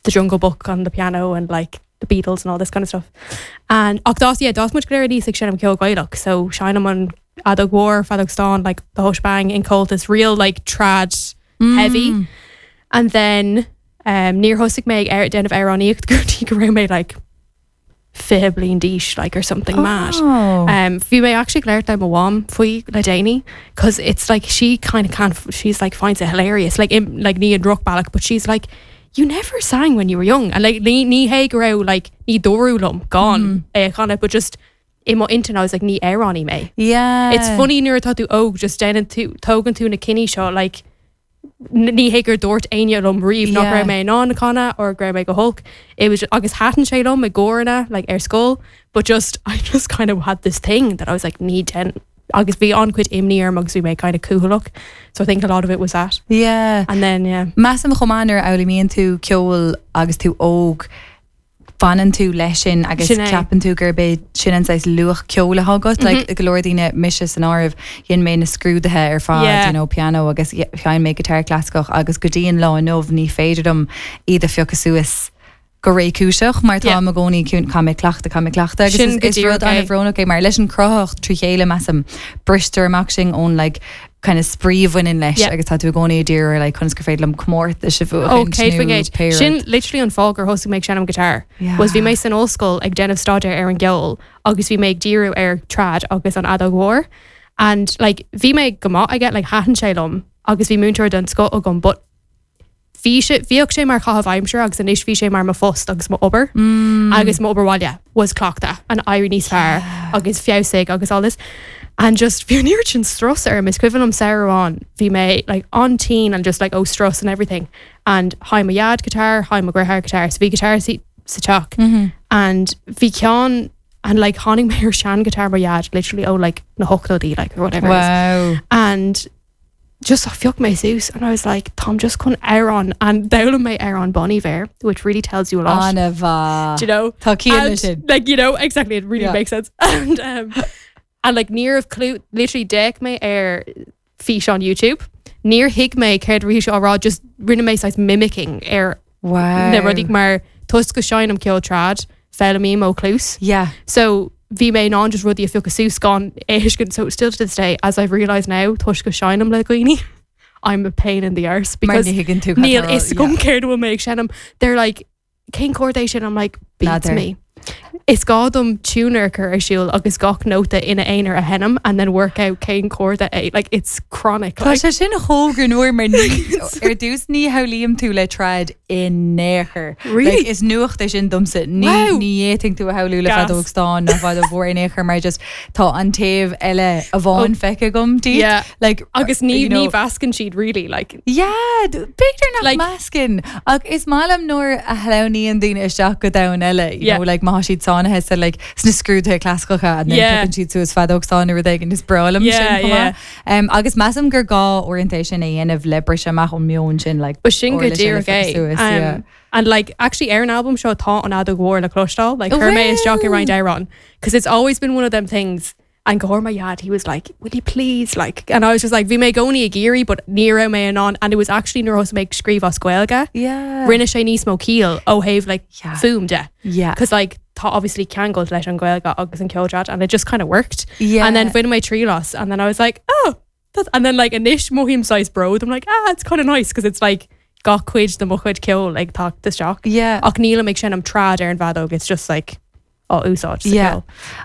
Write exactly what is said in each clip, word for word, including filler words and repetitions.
the Jungle Book on the piano and like the Beatles and all this kind of stuff. And ach d'fhás yeah, d'fhás muid go léir aníos ag seinm ceol Gaelach, so seinnim an fheadóg mhór, feadóg stáin, like the whole shebang in Comhaltas, real like trad heavy. And then um, níor thosaigh mé ag déanamh amhránaíocht go dtí go raibh mé like fiche bliain d'aois like or something mad. Oh. Um, bhí mé actually ag labhairt le mo mham faoi le déanaí cause it's like she kind of can't she's like finds it hilarious like im, like ní an drochbhealach but she's like you never sang when you were young and like ní ní hé go raibh like ní dúradh liom gan é a chanadh but just i mo intinn I was like ní amhránaí mé. Yeah. It's funny nuair atá tú óg just déanann tú tógann tú na cinní seo like n- ní hé gur dúirt éinne liom riamh nach Yeah. raibh mé in ann canadh or go raibh mé go holc. It was agus thaitin sé liom i gcóranna like ar scoil, but just I just kind of had this thing that I was like ní den agus bhí an-chuid imní orm agus bhí mé kind of cúthalach. So I think a lot of it was that. Yeah. And then yeah. Measaim chomh maith nuair a fhoghlaimíonn tú ceol agus tú óg fanann tú leis sin agus Sin é. ceapann tú gurb é sin an saghas luach ceoil atá agat, Mhm. like go leor daoine mise san áireamh dhein mé na scrúduithe ar fad, Yeah. you know, piano agus sheinn mé guitar clasaiceach agus go dtí an lá inniu ní féidir liom iad a phiocadh suas go réchúiseach mar tá Yeah. i gcónaí caithfidh mé cleachtadh caithfidh mé cleachtadh agus Sin is- go is rud díreach é. an-bhrónach é mar leis an chruthaitheacht trí chéile measaim bristear amach sin ón like kind of spraoi a bhaineann leis Yeah. agus tá tú i gcónaí ag iarraidh like conas gur féidir liom comórtas a bhuachan Oh, céad faoin gcéad. Sin literally an fáth gur thosaigh mé ag seinm guitar. Yeah. Was bhí mé san ollscoil ag déanamh staidéar ar an gceol agus bhí mé ag díriú ar trad agus an fheadóg mhór. And like bhí mé go maith aige like thaitin sé liom agus bhí múinteoir den scoth agam, but bhí sé bhíodh sé mar chaitheamh aimsire agus anois bhí sé mar mo phost agus mo obair Mm. agus mo obair bhaile was cleachtadh an éirí níos fearr agus feabhsaigh agus all this. And just bhí an oiread sin strus orm is cuimhin liom samhradh amháin bhí mé like an-tinn and just like oh strus and everything. And sheinn mo dhaid guitar, sheinn mo dheartháir guitar, so bhí guitar sa sa teach. Mm-hmm. And bhí ceann and like tháinig mé ar sean guitar mo dhaid literally oh like na hochtóidí like or whatever. it is. Wow. And just phioc mé suas and I was like Táim just chun amhrán and d'fhoghlaim mé amhrán Bon Iver, which really tells you a lot. An-mhaith. Do you know? Tá ciall And, sin. like you know exactly it really Yeah. makes sense and um and like ní raibh clue literally d'fhéach mé ar fís on YouTube níor thuig mé céard a bhí sé á rá just rinne mé saghas mimicking ar Wow. na rudaí mar toisc go seinnim ceol trad foghlaimím ó chluas Yeah. so bhí mé in ann just rudaí a phiocadh suas gan a thuiscint so still to this day as I've realized now toisc go seinnim le daoine I'm a pain in the arse because Mar ní thuigeann tú níl a fhios agam céard bhfuil mé ag seinm they're like cén chord é sin I'm like beats N'fheadar. me Is gá dom tuner chur ar siúl agus gach nóta ina aonar a sheinm and then work out cén chord é like it's chronic Tá like, sé sin chomh greannmhar mar ní ar dtús ní shamhlaím tú le trad in aon chor. Really? Like, is nuacht é sin domsa ní Wow. ní fhéadfainn tú a shamhlú le Gas. feadóg stáin ná feadóg mhór in aon chor mar just tá an taobh eile amháin feicthe agam díot. Yeah. Like, agus ní you know, ní mheascann siad really like Yeah, d- b'fhéidir nach Like- meascann ach is maith liom nuair a shleamhnaíonn daoine isteach go domhan eile you Yeah. know, like má siad sáinnithe sa like sna scrúduithe clasaiceacha and then Yeah. piocann siad suas feadóg stáin nó rud éigin is breá liom Yeah, sin chomh yeah. maith. Um, agus measaim gur gá uaireanta sin a dhéanamh le briseadh amach ón meon sin like But sin go uirlis eile díreach é. suas, Um, yeah. And like actually ar an album seo tá an fheadóg mhór le cloisteáil like Oh, chuir mé isteach i wow. roinnt amhrán because it's always been one of them things and go my dad he was like will you please like and I was just like bhí mé i gcónaí ag iarraidh but ní raibh mé in ann and it was actually nuair a thosaigh mé ag scríobh as Gaeilge Yeah. rinne sé níos mó ciall ó thaobh like Yeah. fuaim de Yeah. because like tá obviously ceangal leis an Ghaeilge agus an ceol trad and it just kind of worked Yeah. and then bhain mé triail as and then I was like oh that's and then like anois mothaím saghas bród I'm like ah it's kind of nice because it's like gach cuid de mo chuid ceoil like tá isteach Yeah. ach nílim ag seinm trad ar an bhfeadóg it's just like á úsáid sa Yeah. ceol.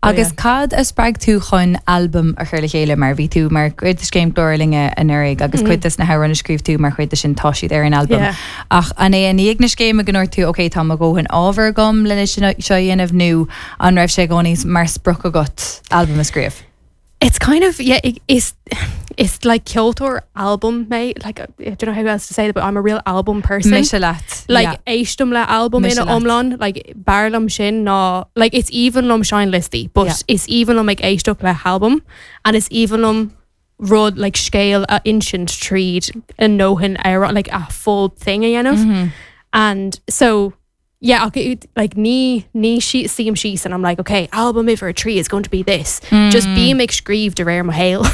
But Agus yeah. cad a spreag tú chun album a chur le chéile mar bhí tú mar chuid de scéim Glór Linne anuraidh agus cuid des na hamhráin a scríobh tú mar chuid de sin tá siad ar an album. Yeah. Ach an é i ndiaidh na scéime go ndúirt tú ok tá mo dhóthain ábhar agam lena sin seo a dhéanamh nó an raibh sé i gcónaí mar sprioc agat album a scríobh. It's kind of yeah it, it's it's like ceoltóir album mé like I don't know how else to say it but I'm a real album person Mise leat. like yeah. éistim le album Mise ina leat. iomlán like b'fhearr liom sin ná like it's aoibhinn liom seinnliostaí but Yeah. is aoibhinn liom ag éisteacht le album and is aoibhinn liom rud like scéal a insint tríd an ndóthain ar like a full thing a dhéanamh Mm-hmm. and so yeah okay, it- like ní ní sí suím síos and I'm like okay album uimhir a trí is going to be this just bím ag scríobh de réir mo shaol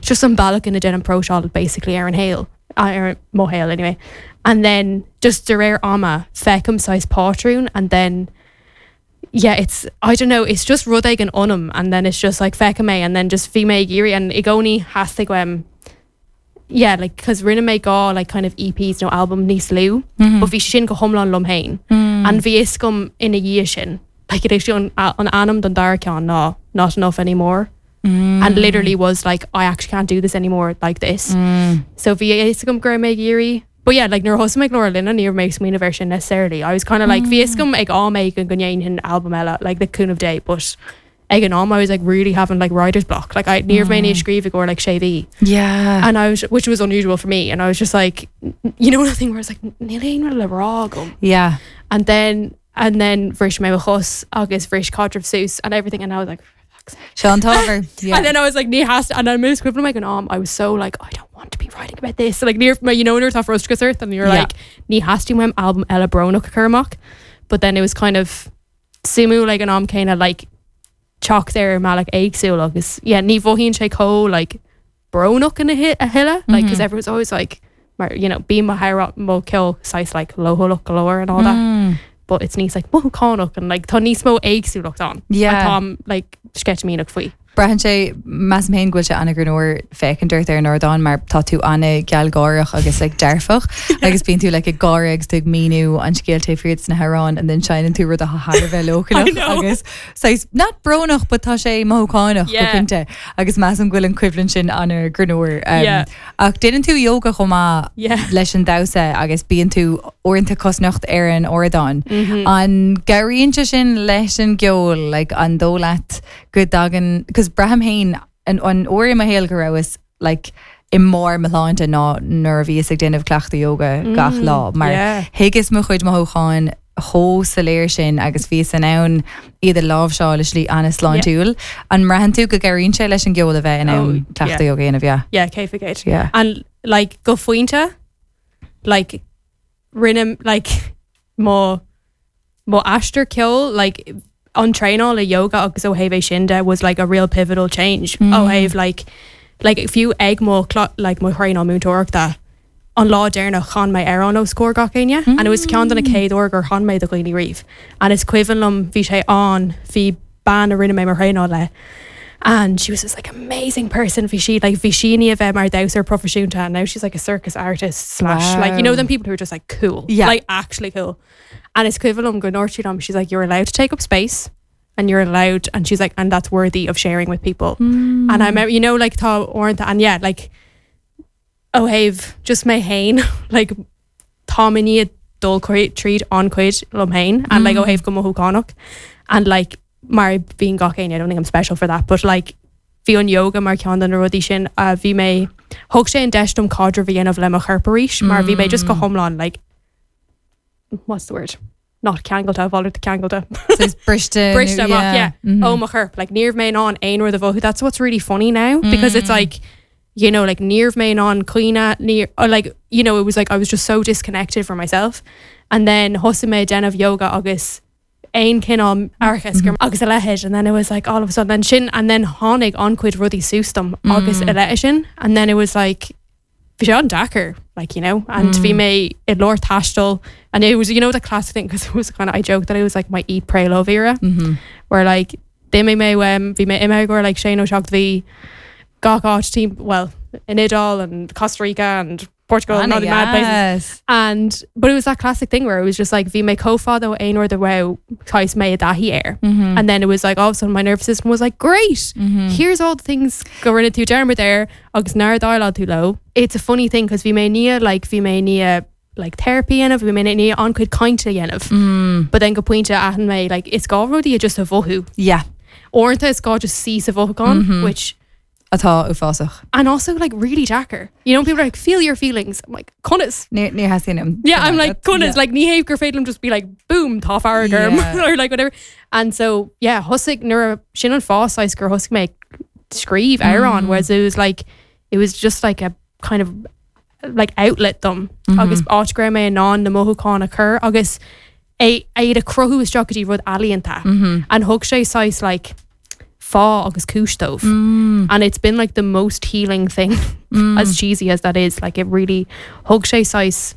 just an bealach ina ndéanaim próiseáil basically ar an shaol ar mo shaol anyway And then just de réir ama feicim saghas patrún and then yeah it's I don't know it's just rud éigin ionam and then it's just like feicim é and then just bhí mé ag iarraidh and i gcónaí theastaigh uaim yeah like cause rinne mé dhá like kind of EPs nó album níos lú Mm-hmm. but bhí sin go hiomlán liom féin Mm. and bhí fhios agam ina dhiaidh sin like it actually an, an ainm don dara ceann ná not enough anymore Mm. and literally was like I actually can't do this anymore like this Mm. so bhí fhios agam go raibh mé ag iarraidh but yeah like nuair a thosaigh mé Glór Linne ní raibh mé ag smaoineamh air sin necessarily I was kind of like bhí fhios agam ag am éigin go ndéanfainn album eile like the cúnamh Dé but ag an am I was like really having like writer's block like I ní raibh mé ag scríobh go like sé mhí Yeah. and I was which was unusual for me and I was just like you know the thing where it's like níl aon rud le rá agam Yeah. and then and then bhris mé mo chos agus bhris caidreamh suas and everything and I was like for fuck's sake. Sean Tover. Yeah. And then I was like, ní has and I moved ag an am I was so like I don't want to be writing about this so, like near my you know nuair atá frustrachas ort and you're Yeah. like ní theastaíonn uaim album eile brónach a chur amach but then it was kind of suimiúil like an am céanna like teacht ar mbealach éagsúil agus yeah ní mhothaíonn sé chomh like brónach ina hi- a thuilleadh like because Mhm. everyone's always like mar you know bí mo hair mo ceol saghas like leochaileach go leor and all that Mm. but it's níos like mothúchánach and like tá níos mó éagsúlacht ann Yeah. Tá like sceitimíneach faoi Braitheann sé measaim féin go bhfuil sé an-ghreannmhar féachaint ort ar an ardán mar tá tú an-ghealgháireach agus like dearfach agus bíonn tú like ag gáire agus tú ag míniú an scéal taobh thiar sna hamhráin and then seinneann tú rud atá thar a bheith leochaileach I know. agus saghas not brónach but tá sé mothúchánach go Yeah. cinnte agus measaim go bhfuil an choimhlint sin an-ghreannmhar um, Yeah. ach déanann tú yoga chomh maith Yeah. leis an damhsa agus bíonn tú uaireanta cosnocht ar an ardán. Mm-hmm. An gcabhraíonn sé sin leis an gceol like, an dóigh leat go dtagann cos braithim féin an an uair i mo shaol go rabhas like, i mbarr mo shláinte ná nuair a bhíos ag déanamh cleachtadh yoga gach lá mar yeah. thuigeas mo chuid mothúcháin chomh soiléir sin agus bhíos in ann iad a láimhseáil i slí an-sláintiúil. An mbraitheann tú go gcabhraíonn sé leis an gceol a bheith in Oh, ann cleachtadh yoga a dhéanamh yeah. yeah céad faoin gcéad Yeah. and like go pointe like rinne like mo mo aistear ceoil like an traenáil le yoga agus ó thaobh é sin de was like a real pivotal change Mm. ó thaobh like like fiú ag mo cla- like mo thraenáil múinteoireachta an lá deireanach chan mé amhrán os comhair gach éinne and it was ceann de na chéad uair gur chan mé do dhaoine riamh and is cuimhin liom bhí sé an bhí bean a rinne mé mar thraenáil le and she was this like amazing person bhí sí like bhí sí ní a bheith mar damhsóir proifisiúnta and now she's like a circus artist slash like you know Wow. them people who are just like cool Yeah. like actually cool and is cuimhin liom go ndúirt sí liom she's like you're allowed to take up space and you're allowed and she's like and that's worthy of sharing with people Mm. and I remember you know like tá uaireanta and yeah like ó thaobh just mé féin like tá mé ní dul tríd an-chuid liom féin and like ó thaobh go mothúchánach and like mar bíonn gach éinne I don't think I'm special for that but like bhí an yoga mar ceann de na rudaí sin uh, bhí mé thug sé an deis dom caidreamh a dhéanamh le mo chorp arís mar bhí mé just go hiomlán like what's the word not ceangailte bhil ceangailte So briste Briste amach, yeah. Mhm. oh mo chorp like ní raibh mé in ann aon rud a mhothú that's what's really funny now because it's like you know like ní raibh mé in ann caoineadh ní or like you know it was like I was just so disconnected from myself and then thosaigh mé déanamh yoga agus aon cineál aireachas gur agus a leithéid and then it was like all of a sudden and sin and then tháinig an-chuid rudaí suas dom agus a leithéid sin and then it was like bhí sé an-deacair like you know and bhí mé i lár taistil and it was you know the classic thing because it was kind of I joked that it was like my eat pray love era Mm-hmm. where like d'imigh mé um, bhí mé imithe go like sé nó seacht mhí gach áit team well in Iodáil and Costa Rica and Portugal and all the mad places yes. and but it was that classic thing where it was just like bhí mé chomh fada ó aon rud a raibh saghas mé i dtaithí air Mm-hmm. and then it was like all of a sudden my nervous system was like great Mm-hmm. here's all the things go rinne tú dearmad air agus nár dhéileáil tú leo it's a funny thing because bhí mé ní like bhí mé ní like therapy dhéanamh bhí mé ní an-chuid cainte dhéanamh Mm. but then go pointe aithin mé like is gá rudaí a just a mhothú Yeah. Uaireanta is gá just sí sa mhothúchán Mhm. which Atá uafásach. and also like really deacair you know people are like feel your feelings I'm like conas Ní ní theastaíonn yeah I'm like conas like ní hé gur féidir liom just be like boom tá fearg orm Yeah. or like whatever and so yeah thosaigh nuair a sin an fáth gur thosaigh mé scríobh amhrán Mm. whereas it was like it was just like a kind of like outlet dom Mm-hmm. agus áit go raibh mé in ann na mothúcháin a chur agus é iad a chruthú isteach go dtí rud ealaíonta Mm-hmm. and thug sé saghas like fáth agus cúis dóibh Mm. and it's been like the most healing thing Mm. as cheesy as that is like it really thug sé saghas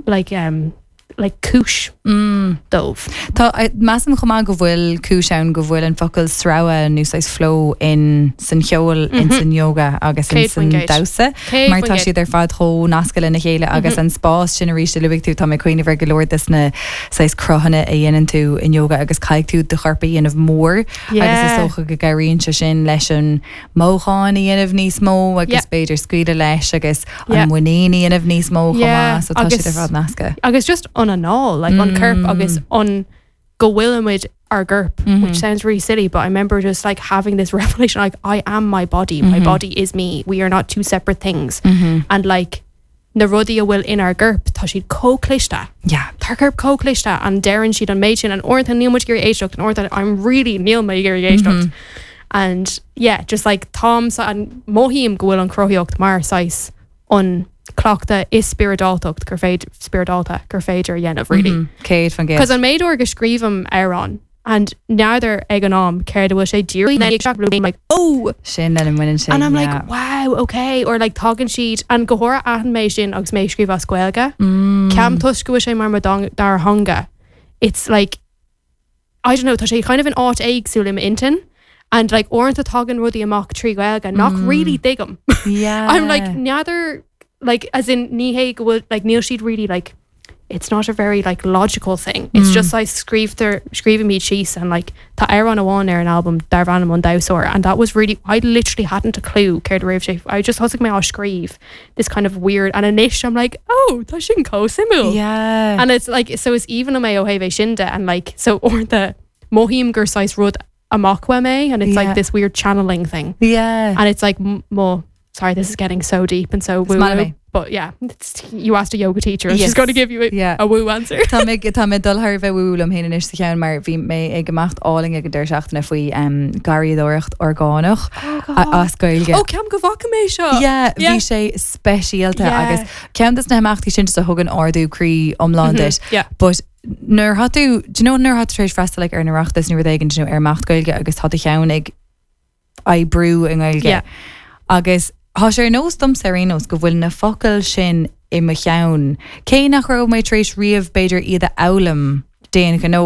like um like cúis Mm. dóibh. Tá measaim chomh maith go bhfuil cúis ann go bhfuil an focal sreabhadh nó saghas flow in san cheol in san yoga agus in Céad san faoin gcéad. damhsa. Céad Mar faoin tá gcéad. siad ar fad chomh nasctha lena chéile agus an spás sin arís a luaigh tú tá mé cuimhneamh ar go leor des na saghas cruthanna a dhéanann tú in yoga agus caithfidh tú do chorp a dhéanamh mór agus is Yeah. dócha go gcabhraíonn sé sin leis an mothúchán a dhéanamh níos mó agus Yeah. b'fhéidir scaoileadh leis agus Yeah. an muinín a dhéanamh níos mó chomh Yeah, maith, so tá siad agus- ar fad nasctha. agus just an anáil like an corp agus an go bhfuilimid ár gcorp which sounds really silly but I remember just like having this revelation like I am my body my body is me we are not two separate things and like na rudaí a bhfuil in ár gcorp tá siad chomh cliste Yeah. Tá corp chomh cliste an deireann siad an méid sin an uaireanta níl muid ag éisteacht an uaireanta I'm really níl mé ag éisteacht and yeah just like Tom an mothaím go bhfuil an chruthaíocht mar saghas an cleachtadh is spioradáltacht gur féidir spioradálta gur féidir a dhéanamh really. Mm, Céad faoin gcéad. Cos an méid uair go scríobhaim amhrán and n'fheadar ag an am céard a bhfuil sé díreach like oh Sin lena mbaineann sé. and I'm yeah. like wow okay or like tagann siad an go háirithe aithním mé sin agus mé scríobh as Gaeilge Mm. Ceapaim toisc go bhfuil sé mar mo dara theanga it's like I don't know tá sé kind of an áit éagsúil im intinn and like uaireanta tagann rudaí amach trí Ghaeilge nach really tuigim Yeah. I'm like n'fheadar like as in ní hé go bhfuil like níl siad really like it's not a very like logical thing it's just like scríobhtar scríobhaim síos and like tá amhrán amháin ar an album darb ainm an damhsóir and that was really I literally hadn't a clue céard a raibh sé I just thosaigh mé á scríobh this kind of weird and anois I'm like oh tá sin chomh suimiúil Yeah. and it's like so it's even mé ó thaobh sin de and like so uaireanta mothaím gur saghas rud amach uaim é and it's Yeah. like this weird channeling thing yeah. and it's like m- more sorry this is getting so deep and so woo maith liom. but yeah it's, you asked a yoga teacher and Yes. she's going to give you a, Yeah. a woo answer Tá mé tá mé dul thar bheith woo liom féin anois sa cheann mar bhí mé ag imeacht álainn ag an deireadh seachtaine faoi um, garraíodóireacht orgánach a- as Gaeilge. oh ceapaim go bhfaca mé seo Yeah, Yeah. bhí sé speisialta Yeah. agus ceann des na himeachtaí sin a thugann ardú croí iomlán duit. yeah But nuair atá tú do you know nuair atá tú tar éis freastal like, ar an Oireachtas nó rud éigin nó ar imeacht Gaeilge agus tá do cheann ag oibriú i nGaeilge. Yeah. Agus Tá sé nós dom ar aon nós go bhfuil na focail sin i mo cheann. Cé nach raibh mé tar éis riamh b'fhéidir iad a fhoghlaim d'aon ghnó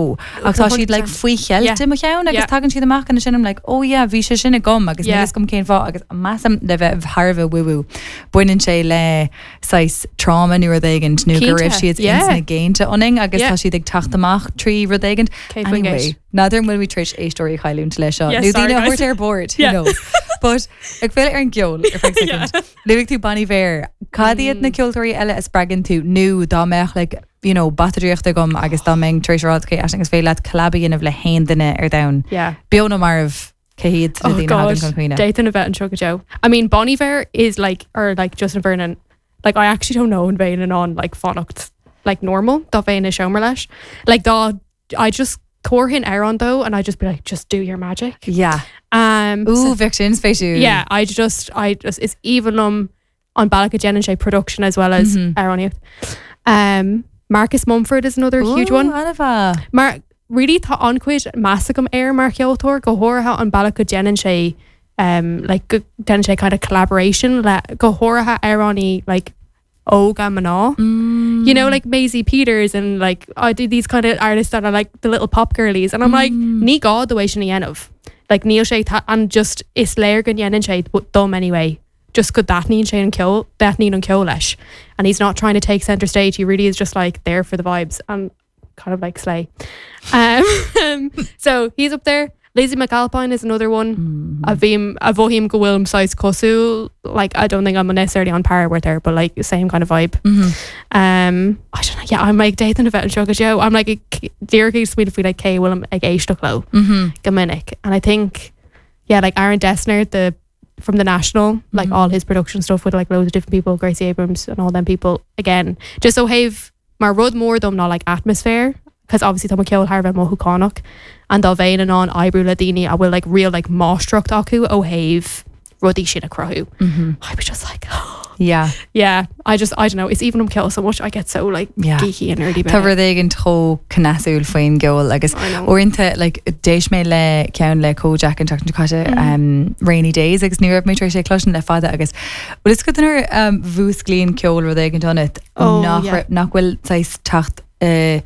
ach tá siad like faoi cheilt Yeah. i mo cheann agus Yeah. tagann siad amach an sin I'm like oh yeah bhí sé sin agam agus Yeah. níl gom cén fáth agus measaim le bheith thar a bheith woo-woo. Baineann sé le saghas trauma nó rud éigin nó go raibh Cinnte, siad yeah. ins na géinte ionainn agus Yeah. tá siad ag teacht amach trí rud éigin. Céad faoin Anyway, gcéad. N'fheadar bhfuil mé tar éis éisteoirí a chailliúint leis seo. Yes, Nó sorry, daoine a guys. thabhairt ar bord, who Yeah. knows. But ag filleadh ar an gceol ar feadh second. Luaigh tú Bon Iver, cad iad na ceoltóirí eile a spreagann tú nó dá mbeadh like, you know, bata draíochta agam agus dá mbeinn tar éis rá okay, agus féidir leat collab a dhéanamh le haon duine ar domhan. yeah Beo nó marbh cé hiad na Oh daoine God, a thagann chun cuimhne. Dathan a bheith anseo go deo. I mean Bon Iver is like or like Justin Vernon like I actually don't know an bheinn in ann like fanacht like normal dá bheinn i seomra leis like dá I just thabharfainn amhrán dó and I just be like just do your magic Yeah. um Ooh, bheadh sin spéisiúil. yeah I just I just is even um an bealach a dhéanann sé production as well as Mhm. amhránaíocht um Marcus Mumford is another huge one Anfa. mar really tá an-chuid meas agam air mar cheoltóir go háirithe an bealach go déanann sé um, like go déanann sé kind of collaboration le go háirithe amhránaí like óga mná. Mm. You know, like Maisie Peters and like I do these kind of artists that are like the little pop girlies and I'm like ní gá dó é sin a dhéanamh. Like níl sé an just is léir go ndéanann sé dom anyway. Just go dtaitníonn sé an ceol dtaitníonn an ceol leis. And he's not trying to take center stage. He really is just like there for the vibes and kind of like slay. Um, so he's up there. Lizzie McAlpine is another one. A bhím a mhothaím go bhfuilim saghas cosúil like I don't think I'm necessarily on par with her but like same kind of vibe. Um, I don't know yeah I'm like Dathan a bheith anseo go deo. I'm like díreach ag smaoineamh faoi like cé bhfuilim ag éisteacht leo go minic and I think yeah like Aaron Dessner the from the National like all his production stuff with like loads of different people Gracie Abrams and all them people again just ó thaobh mar rud mór dom ná like atmosphere because obviously tá mo cheol thar a bheith mothúchánach and dá bheinn in ann oibriú le daoine a bhfuil like real like máistreacht acu ó thaobh rudaí sin a chruthú. I was just like oh, Yeah. Yeah, I just I don't know it's even um ceol so much I get so like Yeah. geeky and nerdy Tá about it. rud éigin chomh cneasúil faoin gceol agus I know. uaireanta like, d'éist mé le ceann le Kojaque an tseachtain caite Mm. um, Rainy Days agus ní raibh mé tar éis é cloisteáil le fada agus bhfuil is go nuair um, mhúsclaíonn ceol rud éigin ionat Oh, nach yeah. nach bhfuil teacht uh, nach